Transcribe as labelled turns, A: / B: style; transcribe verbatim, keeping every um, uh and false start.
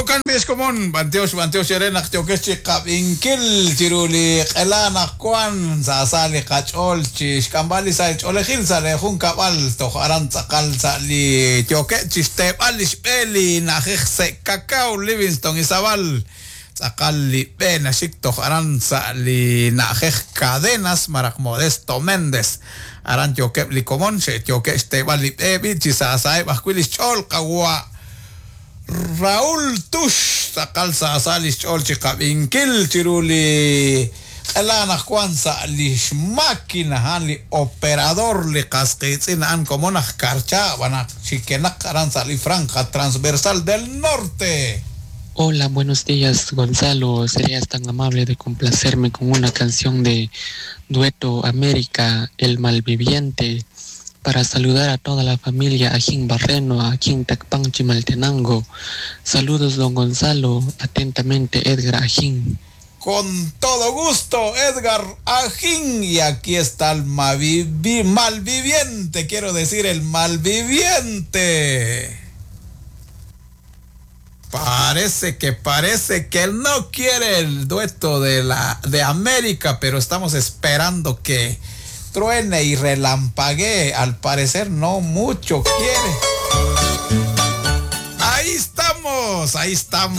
A: Jo'kan b'i xkomon, b'antiox, b'antiox eere naq yookex chi qab'inkil chiru li q'ela naq wan sa sa li qach'ool chi xk'amb'al li sahil ch'oolejil sa' le junkab'al toj aran tz'aqal sa' li yookeb' chi xteeb'al li xb'e li na'ajej Se' Cacao, Livingston, Izabal. Tz'aqal li b'e naxik toj aran sa' li na'ajej Cadenas maraj Modesto Méndez. Aran yookeb' li komon, xe'yookeb' xteeb'al li b'e b'i chi sa saheb' ajwi' li xch'ool qawa' Raúl Tux, tz'aqal sa sa li xch'ool chi qab'inkil chiru li q'ela naq wan sa' li xmáquina a'an li operador li qas qiitz'in a'an komon aj Karcha b'anaq xikenaq aran sa' li franja transversal del norte.
B: Hola, buenos días, Gonzalo. ¿Serías tan amable de complacerme con una canción de Dueto América, El Malviviente, para saludar a toda la familia Ajín Barreno, Ajín Tacpan, Chimaltenango? Saludos, don Gonzalo. Atentamente, Edgar Ajín.
A: Con todo gusto, Edgar Ajín. Y aquí está el malvivi-, malviviente, quiero decir, el malviviente. Parece que, parece que él no quiere el dueto de la, de América, pero estamos esperando que truene y relampaguee. Al parecer no mucho quiere. Ahí estamos, ahí estamos.